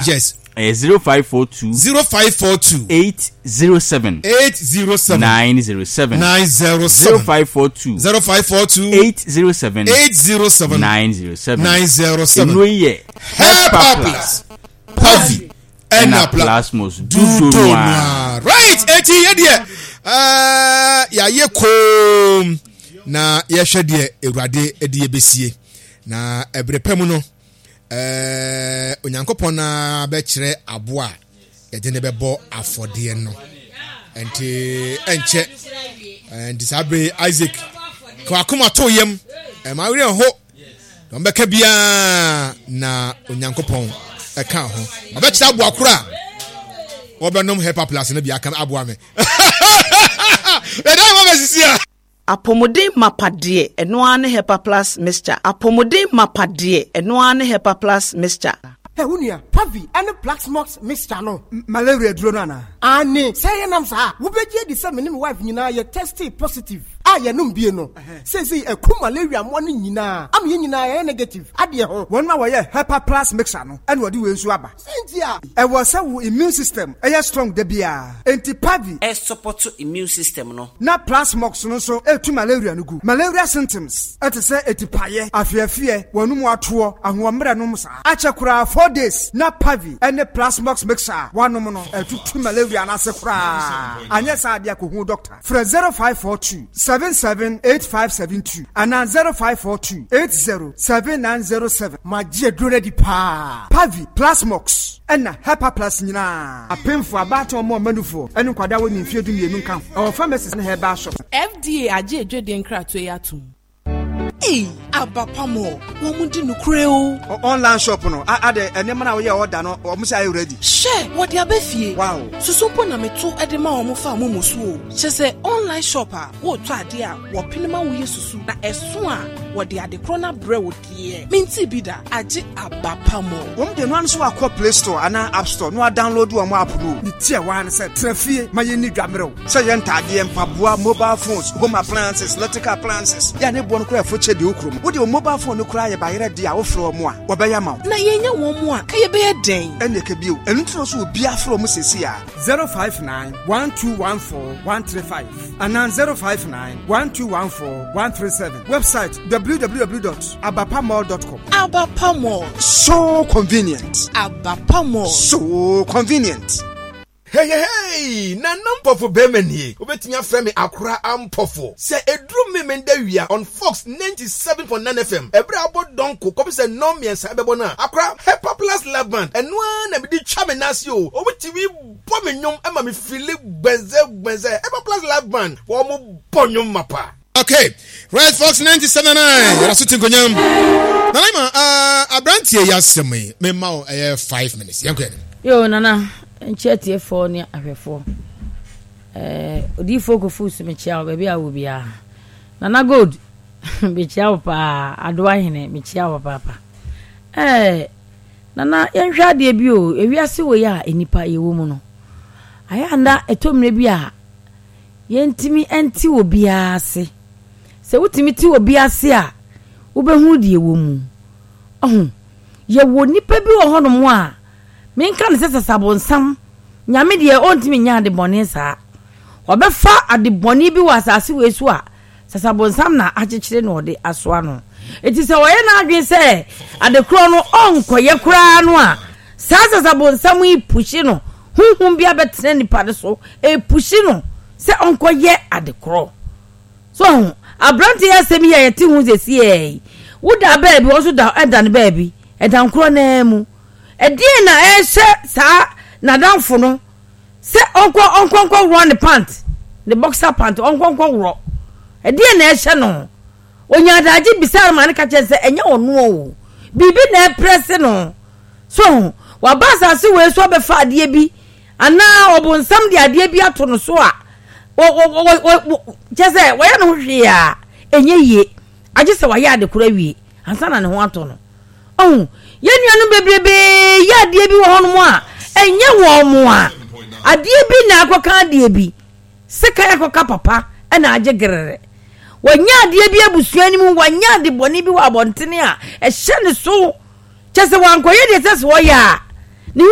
a. Yes. Ɛyɛ 0542. 0542. 807. 807. 907. 907. 0542. 0542. 807. 807. 907. 907. Nnuro yi yɛ. Hepa Plus. Pavi. Ɛna Plasmos. Dudo noa. Right. Eti yɛ deɛ ɛɛ yɛayɛ koom na yɛhwɛ deɛ Awurade de yɛbɛsie na ɛbere pɛ mu no. Ɛɛ, Onyankopɔn na bɛkyerɛ aboa a yɛde ne bɛbɔ afɔdeɛ no. Nti ɛnkyɛ, nti saa bere Isaac ka wakoma to yam, ɛma werɛ ho, na ɔbɛka biara na Onyankopɔn ɛka ho. Ɔbɛkyerɛ aboa koro a wɔbɛnom Hepa Plus no bi aka aboa me. Ɛdan ma bɛsisi a. Apɔmuden mapa deɛ, ɛno ara ne Hepa Plus Mixture. Apɔmuden mapa deɛ, ɛno ara ne Hepa Plus Mixture. Hɛ, wo nua, Pavi ne Plaxmox mixture no, malaria aduro no anaa? Aane, sɛ yɛnam saa a, wobɛgye adi sɛ me ne me wife nyinaa yɛ testee positive a yɛnom bie no. Seesei aku malaria mmoa no nyinaa ama yɛn nyinaa yɛayɛ negative adeɛ ho. Wɔn a wɔyɛ Hepa Plus mixture no na wɔde wei nso aba. Sɛn nti a? Ɛwɔ sɛ wo immune system yɛ strong da biara. Enti Pavi. Ɛsupɔto immune system no. Na Plasmox no nso tu malaria no gu. Malaria symptoms te sɛ atipaeɛ, afeɛfeɛ, w'anum atoɔ, ahoɔmmerɛ nom saa. Akyɛ koraa 4 days na Pavi ne Plasmox mixture a woanom no atutu malaria no ase koraa. Anyɛ saa deɛ kɔhu doctor. Frɛ 0542 778572 anaa 0542 80 7907. Magye aduro no adi paa. Pavi, Plasmox, ɛna Hepaplus nyinaa. Apemfoɔ, abaatan, wɔn a wɔma nufoɔ, ne nkwadaa a wɔnni mfeɛ dumienu nka ho. Ɛwɔ pharmacies ne herbal shops. FDA agye adwadie nkratoɔ yi atom. Ei aba pa mɔ wɔn di nokorɛ o. Online shop no adɛ nneɛma no a woyɛ order no wɔn sɛ ayɛ ready. Hwɛ wɔde aba fie. Wow. Susu mpo na meto de ma wɔn fa momo so o. Kyerɛ sɛ online shop a wotɔ adeɛ a wɔpene ma woyɛ susu na ɛso a wɔde ade korɔ no abrɛ wo deɛ mentee bi da agye aba pa mɔ. Wɔn deɛ no ara nso wakɔ play store anaa app store na wa download wɔn app no o. Ne tiawa ne sɛ tena fie ma yɛnni dwa mmerɛw. Sɛ yɛ ntaadeɛ, mpaboa, mobile phones, home appliances, electrical appliances, yɛ a ne boɔ no koraa ɛfo kyɛ deɛ wo kurom. Wo deɛ wo mobile phone no koraa yɛ bayerɛ deɛ a wofrɛ wɔn a, wɔbɛyɛ ama wo. Na yɛnnya wɔn mu a, ka yɛbɛyɛ dɛn? Ɛnneɛ ka bio. Ɛno nti na ɔsɛ obiara frɛ wɔn seesei ara. 059 1214 135 anaa 059 1214 137. Website www dot abapamall dot com. Abapa Mall. So convenient. Abapa Mall. So convenient. Heyehey! Nana Mpɔfo bɛɛma nie. Wobɛtumi afrɛ me Akora Ampɔfo. Sɛ ɛduru Memenda wia on Fox 97.9 FM, ɛberɛ a abɔ dɔnko kɔpem sɛ nnɔn mmiɛnsa ɛbɛbɔ no a, Akora Hepa Plus Live Band, ɛno ara na mede twa me nan ase o. Wɔn tumi bɔ me nnwom ma me feeli gbɛnzɛ gbɛnzɛ. Hepa Plus Live Band, wɔn bɔ nnwom mapa. Okay, right Fox 97.9 yɛda so te nkonyam. Nana Ima, uh, aberanteɛ yi asɛm yi, mema wo ɛyɛ 5 minutes. Yɛnkɔ yɛn. Yo, Nana, nkyɛ atiefoɔ ne ahwɛfoɔ. Eh, odiyifoɔ Kofi so mekyia wo baabi a wɔ biara. Nana Gold, mekyia wo paa. Adoa Hene, mekyia wo papaapa. Eh, Nana, yɛnhwɛ adeɛ bi o. Ewiase wei a nnipa yɛwɔ mu no, ayɛ anda ɛtɔ mmerɛ bi a Yɛntumi nte obiara ase. Sɛ wotumi te obi ase a, wobɛhunu deɛ ɛwɔ mu. Ɔho, yɛwɔ nnipa bi wɔ hɔnom a, menka no sɛ sasabonsam, Nyame deɛ ɔntumi nyɛ ade bɔne saa. Ɔbɛfa ade bɔne bi wɔ asase wei so a, sasabonsam na akyekyere na ɔde asoa no. Enti sɛ ɔyɛ n'adwene sɛ ade korɔ no ɔnkɔyɛ koraa no a, saa sasabonsam yi puhye no, honhom bi abɛtena nipa no so, ɛrepuhye no sɛ ɔnkɔyɛ ade korɔ. So ho, aberante yi asɛm yi a yɛte ho sɛsiɛ yi, woda baabi, wɔn nso da ɛda no baabi, ɛdan korɔ no ara mu. Ɛdeɛn na ɛrehyɛ saa n'adamfo no sɛ ɔnkɔ ɔnkɔ nkɔ worɔ ne pant, ne boxer pant, ɔnkɔ nkɔ worɔ. Ɛdeɛn na ɛrehyɛ no? Ɔnyaa adagye bisaa no ma no ka kyerɛ no sɛ ɛnyɛ ɔno o, biribi na ɛreprɛse no. So ho, waba asase wei so abɛfa adeɛ bi anaa ɔbonsam de adeɛ bi ato no so a, kyɛ sɛ wɔyɛ ne ho hwee a ɛnyɛ yie, agye sɛ wayɛ ade korɔ awie ansa na ne ho atɔ no. Ɔho, yɛn nuanom bebrebe yɛ adeɛ bi wɔ hɔnom a ɛnyɛ wɔn mo a, adeɛ bi na akɔka adeɛ bi. Sekan akɔka papa na agye gerere. Wanya adeɛ bi abusua no mu, wanya ade bɔne bi wɔ abɔntene a ɛhyɛ ne so. Kyɛ sɛ wankɔyɛ deɛ ɛsɛ sɛ ɔyɛ a,